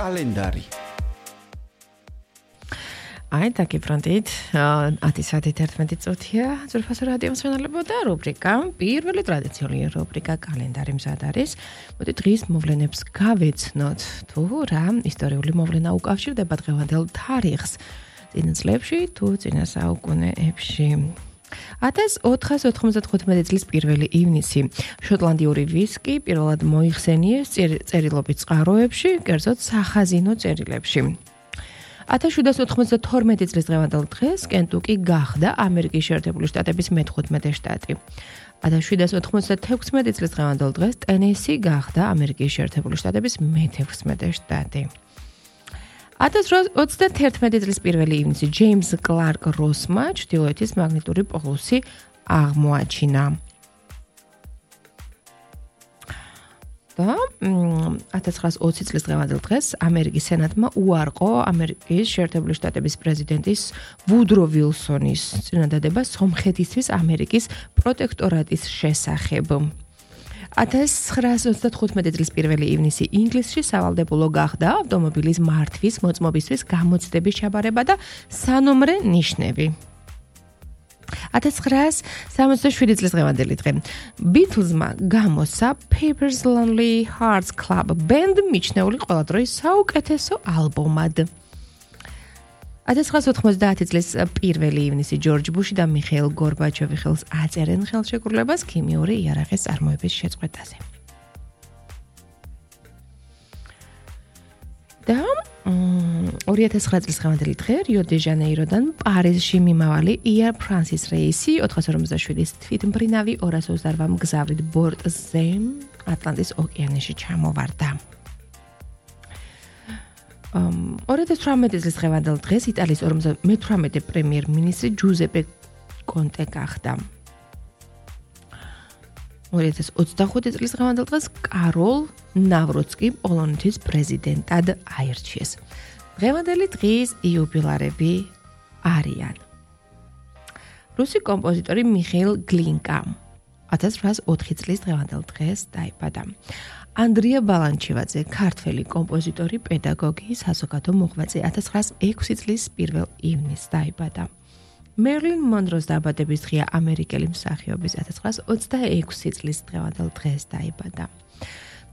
კალენდარი. აი, დაგიბრუნდით. 10 საათი 11 წუთია. ძვირფასო რადიო მსმენელებო და რუბრიკა, პირველი ტრადიციული რუბრიკა კალენდარი მზად არის. მოდით დღის მოვლენებს გავეცნოთ. თუ რა ისტორიული მოვლენა უკავშირდება დღევანდელ თარიღს წინა წლებში თუ წინა საუკუნეებში. 1495 წლის 1 ივნისი შოტლანდიური ვისკი პირველად მოიხსენიეს წერილობით წყაროებში, კერძოდ სახაზინო წერილებში. 1792 წლის დღევანდელ დღეს კენტუკი გახდა ამერიკის შეერთებული შტატების მე-15 შტატი. 1796 წლის დღევანდელ დღეს ტენესი გახდა ამერიკის შეერთებული შტატების მე-16 შტატი. 1821 წლის 1 ივნისი ჯეიმს კლარკ როსმა ჩრდილოეთის მაგნიტური პოლუსი აღმოაჩინა. და 1920 წლის დღევანდელ დღეს ამერიკის სენატმა უარყო ამერიკის შეერთებული შტატების პრეზიდენტის ვუდრო ვილსონის წინადადება სომხეთისთვის ამერიკის პროტექტორატის შესახებ. 1935 წლის 1 ივნისი ინგლისში სავალდებულო გახდა ავტომობილის მართვის მოწმობისთვის გამოცდების ჩაბარება და სანომრე ნიშნები. 1967 წლის დღევანდელი დღე ბიტლზმა გამოსცა Pepper's Lonely Hearts Club Band მიჩნეული ყველა დროის საუკეთესო ალბომად. 1990 წლის 1 ივნისი ჯორჯ ბუში და მიხეილ გორბაჩოვი ხელს აწერენ ხელშეკრულებას ქიმიური იარაღის წარმოების შეწყვეტაზე. და 2009 წლის დღევანდელი დღე რიო დე ჟანეიროდან პარიზში მიმავალი Air France რეისი 457-ის თვითმფრინავი 228 მგზავრით ბორტზე ატლანტის ოკეანეში ჩამოვარდა. 2018 წლის დღევანდელ დღეს იტალიის 58 პრემიერ-მინისტრი ჯუზეპე კონტე გახდა. 2025 წლის დღევანდელ დღეს კაროლ ნავროცკი პოლონეთის პრეზიდენტად აირჩიეს. დღევანდელი დღის იუბილარები არიან. რუსი კომპოზიტორი მიხეილ გლინკა 1804 წლის დღევანდელ დღეს დაიბადა. ანდრია ბალანჩივაძე, ქართველი კომპოზიტორი, პედაგოგი, საზოგადო მოღვაწე 1906 წლის 1 ივნისს დაიბადა. მერლინ მონროს დაბადების დღეა ამერიკელი მსახიობის 1926 წლის დღევანდელ დღეს დაიბადა.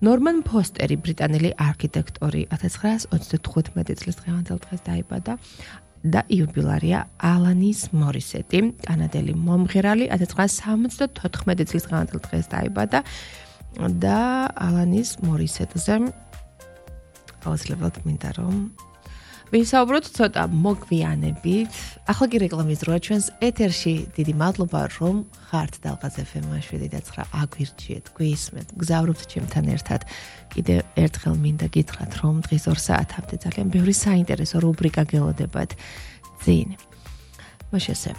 ნორმან ფოსტერი, ბრიტანელი არქიტექტორი 1935 წლის დღევანდელ დღეს დაიბადა და იუბილარია ალანის მორისეტი, კანადელი მომღერალი 1974 წლის დღევანდელ დღეს დაიბადა და ალანის მორისეტზე აუცილებლად მინდა რომ ვისაუბროთ ცოტა მოგვიანებით. ახლა კი რეკლამის დროა ჩვენს ეთერში. დიდი მადლობა რომ ხართ დალღაზ FM 7-9 აგვირჩიეთ, გვისმენთ, გზავრობთ ჩემთან ერთად. კიდევ ერთხელ მინდა გითხრათ რომ დღის 2 საათამდე ძალიან ბევრი საინტერესო რუბრიკა გელოდებათ წინ. მაშინ ესე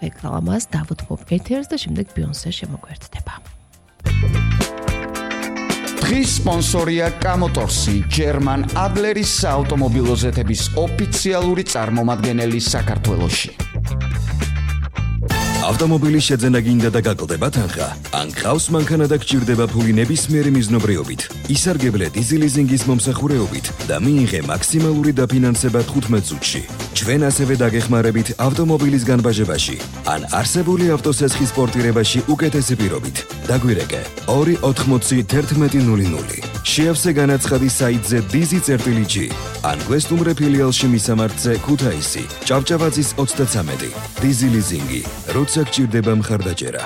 რეკლამას დავუთმობ ეთერს და შემდეგ ბიონსე შემოგვერთდება. დღის სპონსორია კამოტორსი, ჯერმან ადლერის საავტომობილო ზეთების ოფიციალური წარმომადგენელი საქართველოში. ავტომობილის შეძენა გინდა და გაკლდება თანხა? ან გყავს მანქანა და გჭირდება ფული ნებისმიერი მიზნობრიობით, ისარგებლე დიზელიზინგის მომსახურეობით და მიიღე მაქსიმალური დაფინანსება 15 წუთში. ჩვენ ასევე დაგეხმარებით ავტომობილის განბაჟებაში ან არსებული ავტოსესხის პორტირებაში უკეთესი პირობით. დაგვირეკე 2801100. შეავსე განაცხადი საიტზე dizi.g ან გვესტუმრე ფილიალში მისამართზე ქუთაისი, ჭავჭავაძის 33. დიზელიზინგი, როცა გჭირდება მხარდაჭერა.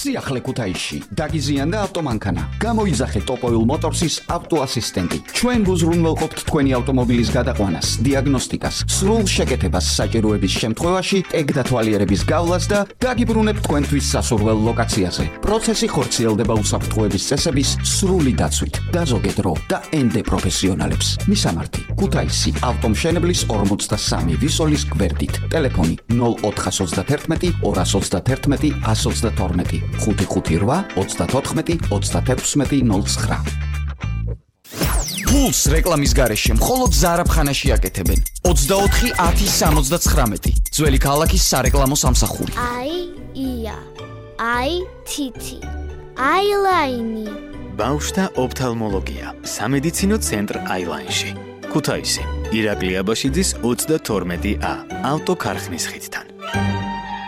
სიახლე ქუთაისში დაგიზიანდა ავტომანქანა. გამოიძახე ტოპოილ მოტორსის ავტოასისტენტი. ჩვენ გუზრუნველყოფთ თქვენი ავტომობილის გადაყვანას, დიაგნოსტიკას, სრულ შეკეთებას საჭიროების შემთხვევაში, ტეგ დათვალიერების გავლას და დაგიბრუნებთ თქვენთვის სასურველ ლოკაციაზე. პროცესი ხორციელდება უსაფრთხოების წესების სრული დაცვით. დაზოგეთ დრო და ენდე პროფესიონალებს. მისამართი: ქუთაისი, ავტომშენებლის 43 ვისოლის გვერდით. ტელეფონი 0431 231 122. 558-34-36-09. ფულს რეკლამის გარეშე მხოლოდ ზარაფხანაში აკეთებენ. 24-10-79. ძველი ქალაქის სარეკლამო სამსახური. აი ია, აი თითი, აი ლაინი, ბავშვთა ოფთალმოლოგია, სამედიცინო ცენტრ აილაინში. ქუთაისი, ირაკლი აბაშიძის 32A, ავტოქარხნის ხიდთან.